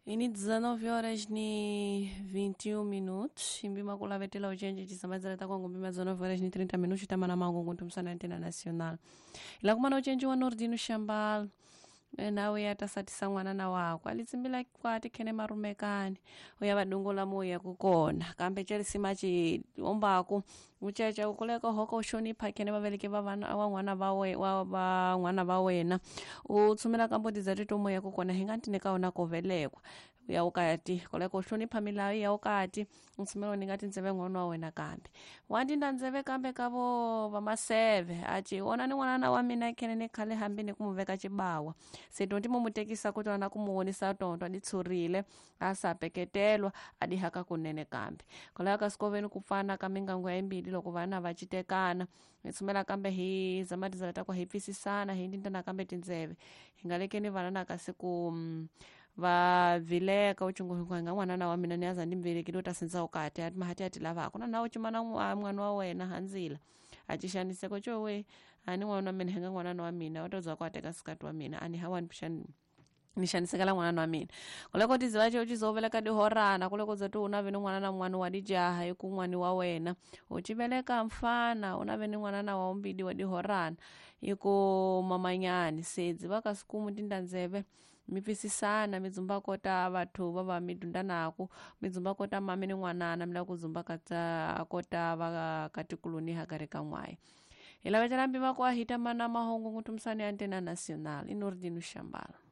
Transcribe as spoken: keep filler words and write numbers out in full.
Ini dezenove horas ni vinte e um minutos. Imbima kulavetela uchenje chisamadzala takwangu mbima dezenove horas ni trinta minutos tamana mangu kuntumsana antena nacional. Ila kumana uchenje wa Nordino Shambal. Nawe atasatisa mwanana wako alitsimbila kwati khene marumekani uya vadungu muya kukona kambe cherisima chiombaku uchecha ukuleka hoko ushonipha khene vaveleke va vana wa n'wana va we wa va n'wana va wena u tshumela ka mbuti dza tito moya kukona hi nga ntine ka wona kovelekwa ya ukati koleka uhlonipha milawu ya ukati utshumela u ninga tindzeve n'wana wa wena kambe wa ndinda ndzeve kambe ka vo vamaseve aci wona ni n'wanana wa mina khene ni khale hambi ni ku mu veka cibawa se tonti mo mu tekisa ku tona na ku mu vonisa tonto a di tshurile a sa peketelwa a di haka kunene kambe koleka ka sikoveni ku pfana ka mingangu ya yimbili loko vana va citekana hi tshumela kambe hi zama tindzela ta ku hi pfisisana hi ndindana kambe tindzeve hi nga lekeni vana na kasi ku mm, va vileka u cungu hinkwayo nga n'wanana wa mina ni aza ni velekile u ta sindza ukati ati mahati ati lavaka na nawe cimana n'wana wa wena handzila a ci xaniseko cowe a ni n'wana wa mina hi nga n'wanana wa mina u ta za ku a teka sikati wa mina a ni hawani xani ni xanisekela n'wanana wa mina kuleko tiziva ce u ci zoveleka dihorana kuleko za ti u nave ni n'wanana n'wana wa dijaha hi ku n'wani wa wena u ci veleka mfana u nave ni n'wanana wa umbidi wa dihorana hi ku mamanyani se dziva ka sikumu tindandzeve mi pfisisana mi dzumba kota vathu va va mi dunda naku mi dzumba kota mami ni n'wanana mi lava ku dzumba kata kota va katikuloni hakare ka n'wayi hi lavetela mpima ku a hita mana mahungu ngutumisani ya antena nacional i Nordino Shambala.